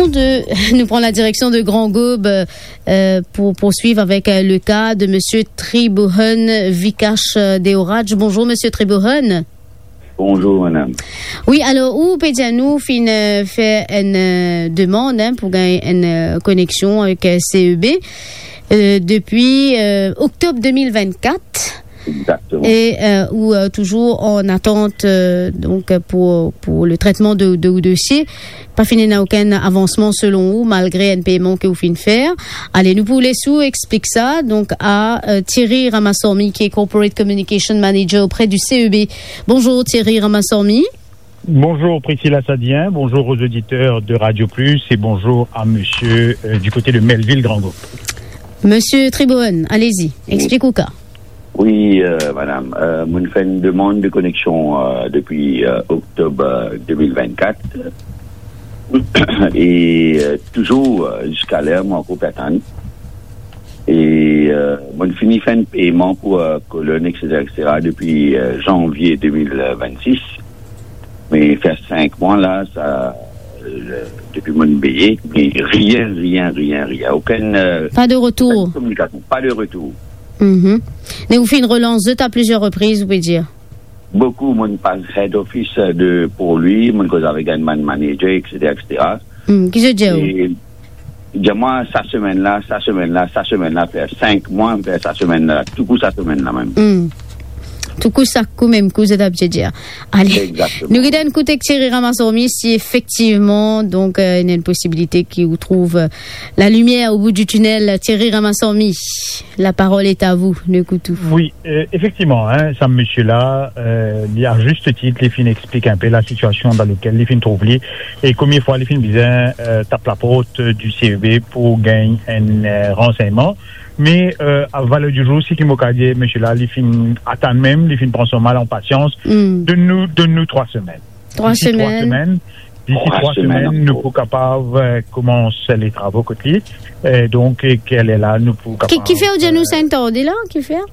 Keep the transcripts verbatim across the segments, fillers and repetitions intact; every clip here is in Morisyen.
De, nou pran la direksion de Grand Gaube, euh, pou poursuiv avek, euh, le ka de Monsieur Tribohon Vikash, euh, Deoraj. Bonzour, Monsieur Tribohon. Bonzour, madam. Wi, alor, ou pe dir nou, finn, euh, fer enn, euh, demann, hein, pou gagn enn, euh, koneksion avek, euh, C E B, euh, depi, euh, oktob de mil vennkat. Exactement. E, euh, ou, euh, touzour an atant, euh, donk, euh, pou, pou le tretman de, de ou dosie. Pa finn ena okenn avansman selon ou, malgre enn peyman ke ou finn fer. Ale, nou pou les ou explik sa, donk, a, euh, Thierry Ramasormi, ki est Corporate Communication Manager auprès du C E B. Bonzour Thierry Ramasormi. Bonjour Priscilla Sadien, bonjour aux auditeurs de Radio Plus et bonjour à monsieur, euh, du côté de Melville Grand Gaube. Monsieur Tribohon, allez-y, explik ou ka. Wi, euh, madam, euh, mo'nn fer enn demann de koneksion, euh, depi, euh, oktob, euh, de mil vennkat. E, euh, touzour, euh, ziska ler, mo ankor pe atann. E, euh, mo'nn fini fer enn peyman pou, euh, kolonn, et cetera, et cetera, depi, euh, zanvie de mil vennsis. Me fer sink mwa la, sa, euh, depi mo'nn peye, me rien, rien, rien, rien. Okenn, euh, pa de retour. Okenn kominikasion, pa de retour. Mhm. Me ou finn relans zot a plizier repriz, ou pe dir? Boukou, mo'nn pas head office, euh, de, pou li, mo'nn koz avek enn bann manager, et cetera, et cetera. Hmm, ki zot dir ou? E, dir mwa, sa semenn la, sa semenn la, sa semenn la, fer sink mwa, fer sa semenn la, toukou sa semenn la mem. Hmm. Toukou sa kou, mem kou, zot abitie dir. Ale, exactement, nou get enn kout ek Thierry Ramasormi, si efektivman, donk, euh, ena enn posibilite ki ou trouv, euh, la limier au bout du tunnel. Thierry Ramasormi, la parole est à vous, nou ekout ou. Wi, euh, efektivman, hein, sa misie la, euh, li, a zis tit, li finn explik enn pe la sitiasion dan lekel li finn trouv li. E konbien fwa li finn bizin, euh, tap laport, euh, du C E B pou gagn enn, euh, ransegnman. Me, euh, a valer di zour, seki mo kav dir, misie la, li finn atann mem, li finn pran so mal an pasians. Hmm. Donn nou, donn nou trwa semenn. Trwa semenn. Disi trwa semenn, disi trwa semenn, nou pou kapav, euh, koumans le travo kot li. Euh, donk, e ki lerla nou pou kapav, kifer ou dir nou, euh, sa enn tarde la, kifer?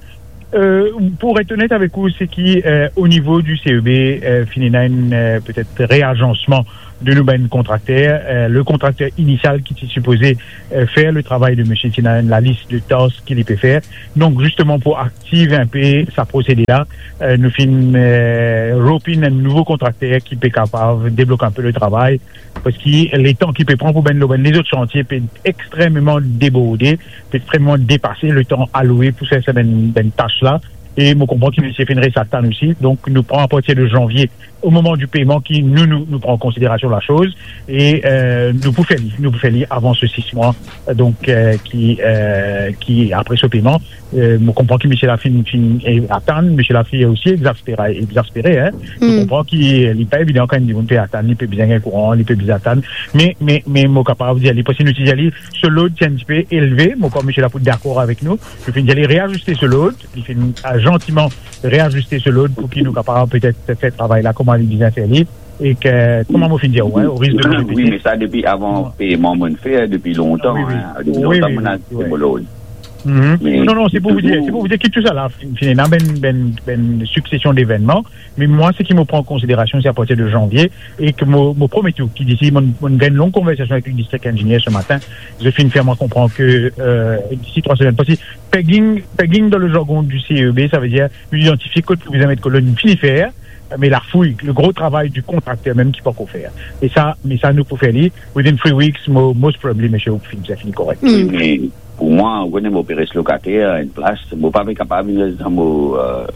Euh, pou et onet avek ou, seki, euh, o nivo di C E B, euh, finn ena enn, euh, petet reazansman de nou bann kontrakter. Euh, le kontrakter inisial ki ti sipoze, euh, fer le travay de misie, ti ena enn lalis de tas ki li pe fer. Donk, zisteman, pou aktiv enn pe sa prosede la, euh, nou finn, euh, ropinn enn nouvo kontrakter ki pe kapav deblok enn pe le travay, parski letan ki pe pran pou bann, lor bann lezot santie pe extrememan deborde, pe extrememan depase letan aloue pou fer sa bann, bann tas la. E mo konpran ki misie finn res atann osi. Donk, nou pran apartir de zanvie, o moman di peyman ki nou, nou, nou pran konsiderasion lasoz e, euh, nou pou fer li, nou pou fer li avan se sis mwa, euh, donk, euh, ki, euh, ki apre so peyman. Euh, mo konpran ki misie la finn, finn, eh, atann, misie la finn osi exaspere, exaspere, hein. Mo konpran ki, euh, li pa evidan kan enn dimoun pe atann, li pe bizin gagn kouran, li pe bizin atann. Me, me, me mo kapav dir li, parski nou ti dir li, so load ti enn tipe elve, mo krwar misie la pou dakor avek nou. Nou finn dir li reaziste so load, li finn, euh, zantiman reaziste so load pou ki nou kapav petet fer travay la kouma li bizin fer li, e ki, kouma mo finn dir ou, hein, o risk de non-repete. Wi, me sa depi avan peyman mo'nn fer, depi lontan, hein, depi lontan mo'nn aste mo load. Mhm. Me non, non, se pou ou dir, se pou ou dir ki tou sa la finn, finn ena bann, bann, bann siksesion devennman. Me mwa, seki mo pran an konsiderasion, se apartir de zanvie, e ki mo, mo promet ou ki disi, mo'nn, mo'nn gagn long konversasion avek le district engineer se matin, zot finn fer mwa konpran ki, euh, disi trwa semenn, parski pegging, pegging dan le jargon di C E B, savedir nou idantifie kot pou bizin met kolonn, fini fer, me lafouy, le gro travay di kontrakter mem ki pankor fer. E sa, me sa nou pou fer li, within three weeks, mo, most probably, misie, ou finn, sa fini korek. Mm. Wi, me pou mwa, ou kone, mo pe res lokater enn plas, mo pa pe kapav vinn res dan mo, euh,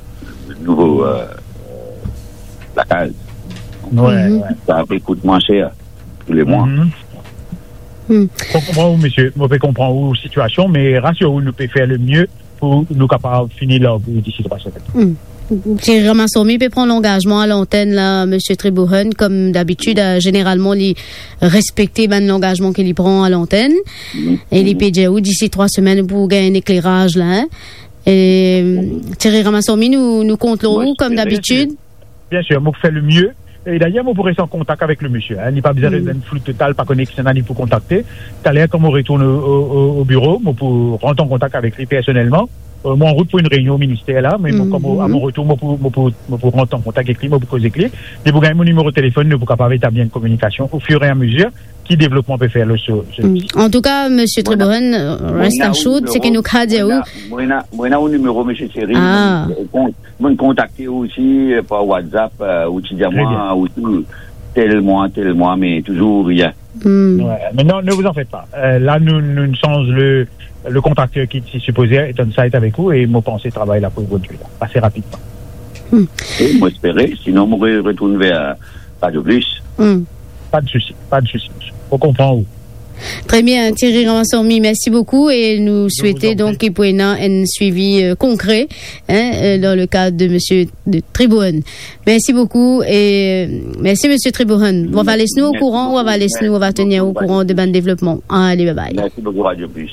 nouvo, euh, lakaz. Wi, wi. Sa pe kout mwa ser tou le mwa. Mhm. Mm. Mo konpran ou, misie, mo pe konpran ou sitiasion, me rasir ou, nou pe fer le mie pou nou kapav fini labou disi trwa semenn. Mm. Thierry Ramasormi pe pran langazman a lantenn la, misie Tribohon, kom dabitid, euh, zeneralman, li respekte bann langazman ki li pran a lantenn. Mhm. E li pe dir ou, disi trwa semenn, pou gagn enn ekleraz la, hein. E, euh, Thierry Ramasormi, nou, nou kont lor ou, kom dabitid. Bien sir, mo pou fer le mie. E dayer, mo pou res an kontak avek le misie, hein. Li pa bizin res dan flou total, pa kone kisannla li pou kontakte. Taler, kan mo retourn o, o, o, o biro, mo pou rant an kontak avek li personelman. Euh, mo anrout pou enn reynion o minister la, me mo, kan mo, a mo retour, mo pou, mo pou, mo pou rant an kontak avek li, mo pou koz avek li. Li pou gagn mo nimero telefonn, nou pou kapav etabli enn kominikasion o fir e a mezir. ki devlopman pe fer lor so, so. Mm. Antouka, Misie Trebohen, euh, res assured, seki nou kapav dir ou. Mo ena, mo ena ou nimero, Misie Thierry. Ah. Mo kont-, mo kontakte ou osi, euh, par WhatsApp, euh, ou ti dir mwa, ou ti tel mwa, tel mwa, me touzour rien. Hmm. Ouais, mais non, ne vous en faites pas. Euh, là, nous, nous changeons le, le contracteur qui est supposé être on site avec vous et mo panse travay la pou evolye la, assez rapidement. Hmm. E mo espere, sinon mo re-, retourn ver Radio Plus. Hmm. Pas de souci, pas de souci, monsieur. Mo konpran ou. Très bien, Thierry Ramasamy, merci beaucoup et nous souhaitons donc qu'il puisse y avoir un suivi, euh, concret, hein, euh, dans le cadre de Monsieur de Trebohen. Merci beaucoup et, euh, merci, Monsieur Trebohen. Ou va les nou au courant, ou va les nou, ou va tenir au courant de bann devlopman. Allez, bye bye. Merci beaucoup, Radio Plus.